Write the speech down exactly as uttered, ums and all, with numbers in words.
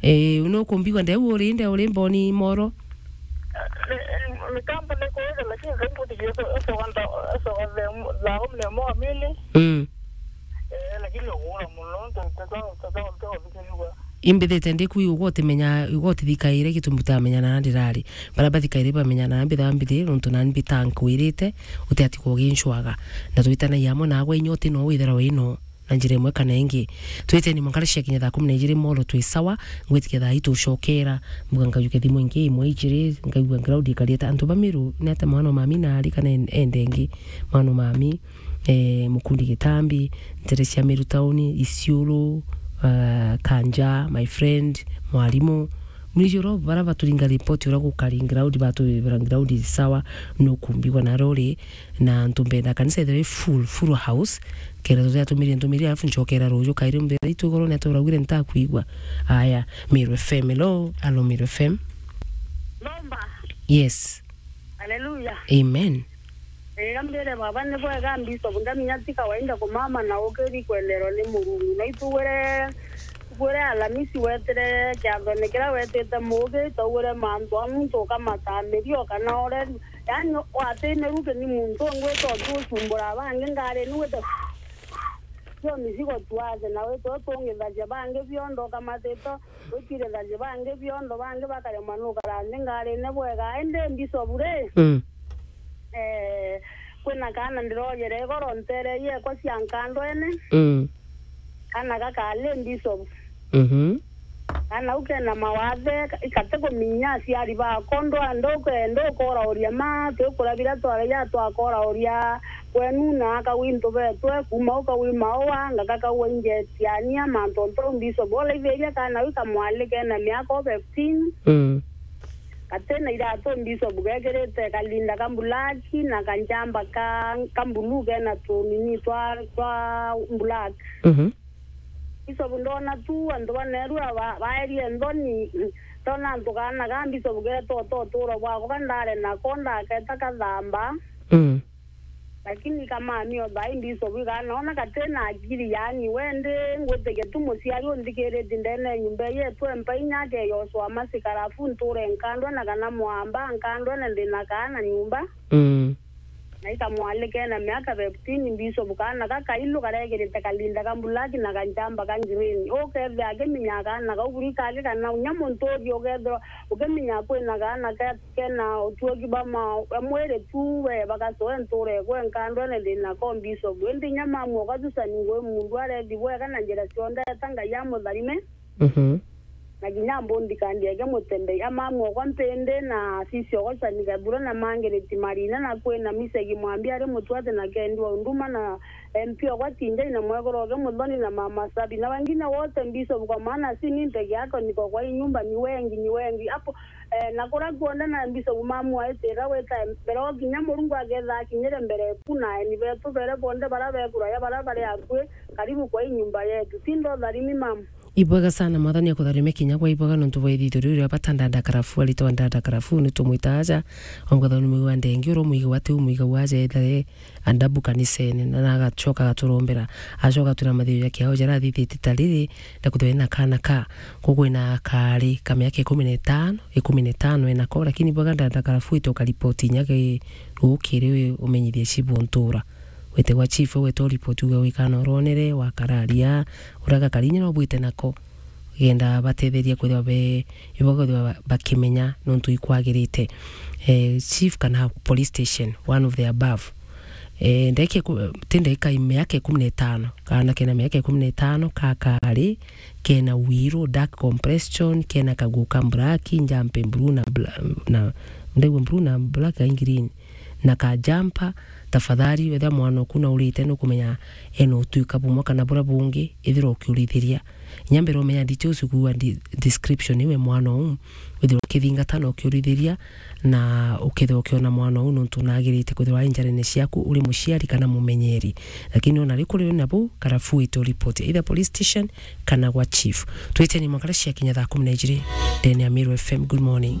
Eh, nukumbigua ndeu uri, ndeu uri Mboni Moro? Ni, ni, ni kampu ni kuuja, lakini karibu tigiye so, so kanta, so kanta thaa kumi na imwe kamili. Mm. Eh, lakini ukuura muno, ntu, ntu, ntu, ntu, ntu, ntu, ntu, Imbithite ndiku igoti menya, igoti thikaire gitumi utamenya na ndirari. Bara bathikaire bamenya na mbitha mbithire, nontu na mbita nkwirite, utiati kugincwaga. Na twitanagia amwe nagwe inya uti no withira wino na njira imwe kana ingi. Twiteni mwankara cia kinya thaa kumi na ijiri moro twi sawa, ngwitikia thaa itu ucokera, mbuga nkajuke thimu ingi imwe ijiri, ngaigua ground ikariete. Antu ba Miru, ni ata mwana mami nari kana en-, ende ingi, mwana mami, eh, Mukundi Gitambi, ntere cia Miru Town, Isiolo, ah, Kanja, my friend, mwarimu. Mwijoro bara baturinga report uria gukari ground, batubira ground sawa, nukumbigwa na rori, na ntumbenda kanisa ithire full, full house, kenda turia tumiri ntumiri, alafu ncokera ruju kairi mbere itu igoro ni aturaugire ntakwigua. Aya, Miru F M, hello, hello, Miru F M. Nomba. Yes. Haleluya. Amen. Ega mbere baba ni bwega, Bishop, ndamenya ti kawaida kumama na ukiri kwenderwa ni Murungu. Na itugwire, tugwire Alamisi wetire kiathone kiria wetite muugi, tugwire mantu a muntu ukamatamiria kana ureri. Yaani, watine ruke ni muntu ungi wita ukiucumbura bangi ngari ni wite yo misigo tuaze na wite utungithagia bangi biondo ukamatita Gutirithagia bangi biondo, bangi bakaremwa nukara nthi ngarine bwega. Indi Bishop ri, Mm. eh, kwina kaana ndirojere igoro ntere iekwa cia nkandwene. Mm. Kaana gakari Bishop. Mhm. Kaana au kena mawathe, ka-, gati kuminya aciari bako, ndwa-, nduke-, ndukurauria ma, twikura biria twaragia twakorauria kwenu na akagwi ntu betwe, kuma au kagwi maua, ngaka kagwa injetiania, mantu ontu au Bishop. Uraithiria kaana au kamwali kena miaka o fifteen, Mm. gatina iratu Bishop gekirite kalinda ka black na kanjamba ka, ka blue kena tunini twa, twa black. Mhm. Bishop ndona tu antu baneru aba, baerie nthoni, ndona antu kaana ka Bishop geeta uta uturo bwakwa ka ndare nako ndaketa kathamba. Mm. Lakini kamami o thaai Bishop ikaana ona katina akiri, yaani we ndi ngwitikia tu muciari unthikiritie ndene ya nyumba yetu empa inya akeyoswa masikarafu nture nkandwe na kana mwamba nkandwe na ndina kaana nyumba. Mm. Na ikamwalika ena miaka fifteen Bishop kaana kakailu karekirite kalinda ka black na kanjamba ka green. Ukethia akiminyaa kaana kau buri kake kana unya muntu uthi ukethirwa ukiminyaa kwina kaana ke kena utuoki bwa ma-, bwa mwiri tu, we bagacoe nture kwe nkandwene thina ko Bishop. Indi inya mamu okwa Susani ngui mundu arethi bwega na njira cionthe eta Ngai amutharime. Mhm. Na kinya mbundi kandi eke mutembei. A mamu okwa Mpindi na sisi okwa Susani Gathura na Margaret Marina na kwina Misegi Mwambi ari mutwati na Kendi wa Unduma na M P okwa Tinjai na mwekuru oke Muthoni na mama Sabi na wengine wote Bishop, kwa maana si mimi peke yako niko kwa hii nyumba, ni wengi, ni wengi. Hapo Eh, na kuria kuonde na Bishop mamu aitira wita mbere o kinya Murungu aketha akinyire mbere eku na aeni betu bere bonde bara bekuraya bara bari akui karibu kwa hii nyumba yetu. Tindo tharimi mamu. Ibwega sana, Mwathani akutharime kinya kwa ibwega nontu bwa ithitho riu ria bata ndanda karafu, aritwa ndanda karafu, ni tumwita aja, ongotha ni mwiga wa ndengi, uro mwiga wa tiu mwiga wa aja ethare, andabu kanisene, na, na agacoka agaturombera, acoka atwira mathiu ja kiao jaria athithite ta riri, na kwithirwa ena kaana ka, kukwina kaari ka miaka ikumi na itano, ikumi na itano enako, lakini bwaga ndanda karafuite ukaripoti inya ki rukiri wi umenyithie chief untura. Wite gwa chief, wite uripoti uge wi kaana uronere, wakararia, uria gakari inya no bwite nako. Genda batetheria kwithirwa be, ibo kwithirwa ba-, bakimenya nontu ikwagirite. Eh, chief kana police station, one of the above. Eh, ndeke ku-, ti ndeka miaka ikumi na itano. Kaana kena miaka ikumi na itano, kakari, kena wiro, dark compression, kena kaguo ka black, njampe blue na bla-, na, ndegwa blue na black and green. Na ka jumper, tafadhali, wethira mwana oku naurite, nukumenya ena utuika bumwe kana buria bungi, ithira ukiurithiria. Inya mbere umenya details, kuua di-, description iwe mwana uu, withirwa ukithingata na ukiurithiria, na ukethirwa ukiona mwana uu nontu nagirite kwithirwa ai njarene ciaku uri muciari kana mumenyeri. Lakini ona ri kuri na bu, karafuite uripoti either police station kana gwa chief. Twiteni mwakara cia kinya thaa kumi na ijiri ndene ya Meru F M. Good morning.